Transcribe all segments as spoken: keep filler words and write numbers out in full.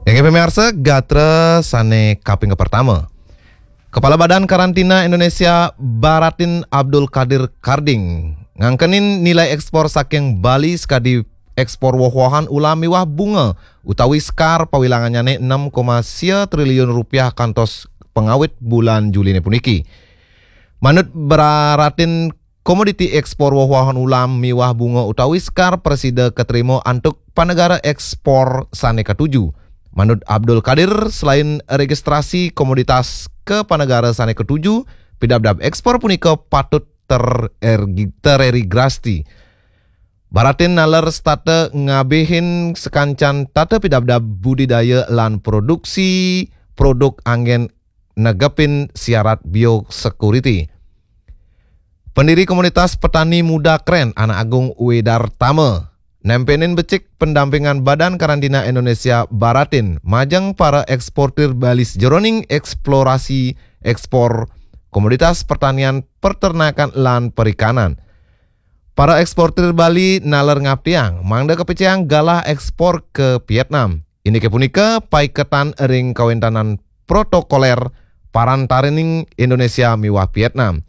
Inggih pamiarsa, gatra sane kaping kapertama. Kepala Badan Karantina Indonesia Baratin Abdul Kadir Karding ngangkenin nilai ekspor saking Bali sakadi ekspor woh-wohan ulam miwah bunga utawi sekar pawilangannyane enam koma sia triliun rupiah kantos pangawit bulan Juline puniki. Manut Baratin, komoditi ekspor woh-wohan ulam miwah bunga utawi sekar prasida katrima antuk panegara ekspor sane katuju. Manut Abdul Kadir, selain registrasi komoditas ka panegara sane katuju, pidabdab ekspor punika patut ter-, ergi-, terregistrasi. Baratin naler setata ngabihin sakancan tata pidabdab budidaya lan produksi produk anggen negepin syarat biosecurity. Pendiri Komunitas Petani Muda Kren, Anak Agung Widartama, nempenin becik pendampingan Badan Karantina Indonesia Baratin majeng para eksportir Bali sajeroning eksplorasi ekspor komoditas pertanian, peternakan, lan perikanan. Para eksportir Bali naler ngaptiang mangda kapicayang galah ekspor ka Vietnam. Indike punika paiketan ring kawentanan protokoler parantarining Indonesia miwah Vietnam.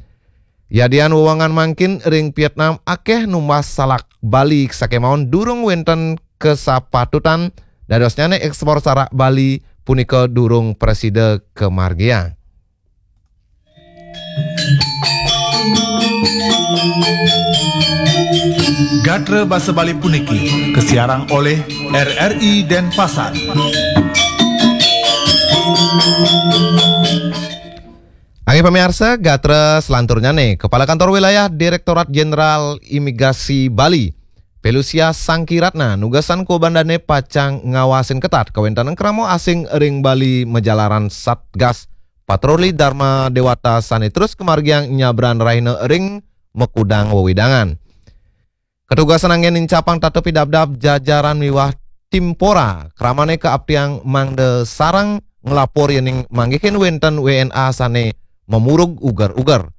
Yadian wewangan mangkin ring Vietnam akeh numbas salak Bali sakemaon durung wenten kasapatutan, dadosnyane ekspor salak Bali punika durung prasida kamargiang. Gatra basa Bali puniki kasiarang oleh R R I Denpasar. Inggih pamiarsa, gatra selanturnyane, Kepala Kantor Wilayah Direktorat Jenderal Imigrasi Bali, Pelusia Sangkiratna, nugasan kuabandane pacang ngawasin ketat kawentanan krama asing ring Bali majalaran Satgas Patroli Dharma Dewata sane terus kamargiang nyabran rahina ring makudang wewidangan. Katugasan anggen nincapang tata pidabdab jajaran miwah timpora, kramane kaaptiang mangda sareng nglapor yening manggihin wenten W N A sane mamurug uger-uger.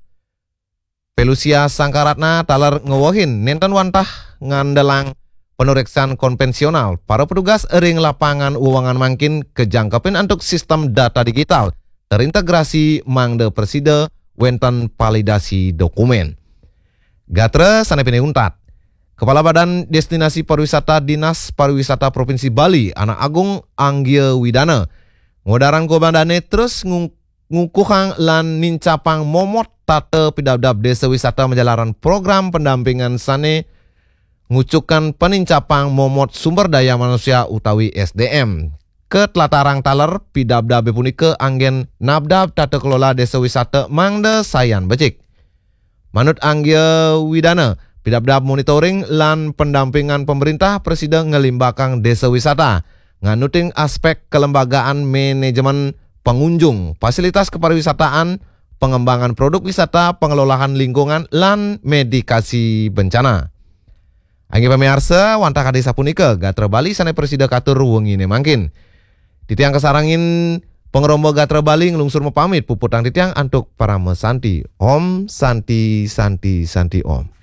Pelusia Sangkaratna taler ngewehin nenten wantah ngandelang panureksan konvensional. Para petugas ring lapangan wewangan mangkin kajangkepin antuk sistem data digital terintegrasi mangda prasida wenten validasi dokumen. Gatra sane pinih untat. Kepala Badan Destinasi Pariwisata Dinas Pariwisata Provinsi Bali, Anak Agung Anggia Widana, ngudarang kuabandane terus ngung-, ngukuhang lan nincapang momot tata pidabdab desa wisata majalaran program pendampingan sane ngucukang panincapang momot sumber daya manusia utawi S D M. Katlatarang taler pidabdabe punika anggen nabdab tata kelola desa wisata mangda sayan becik. Manut Anggia Widana, pidabdab monitoring lan pendampingan pemerintah prasida nglimbakang desa wisata, nganutin aspek kelembagaan manajemen pengunjung, fasilitas kepariwisataan, pengembangan produk wisata, pengelolaan lingkungan, lan medikasi bencana. Inggih pamiarsa, wantah kadi sapunika gatra Bali sane prasida katur wengine mangkin. Titiang kasarengin pangremba gatra Bali nglungsur mapamit, puputang titiang antuk parama santi. Om Santi, Santi, Santi Om.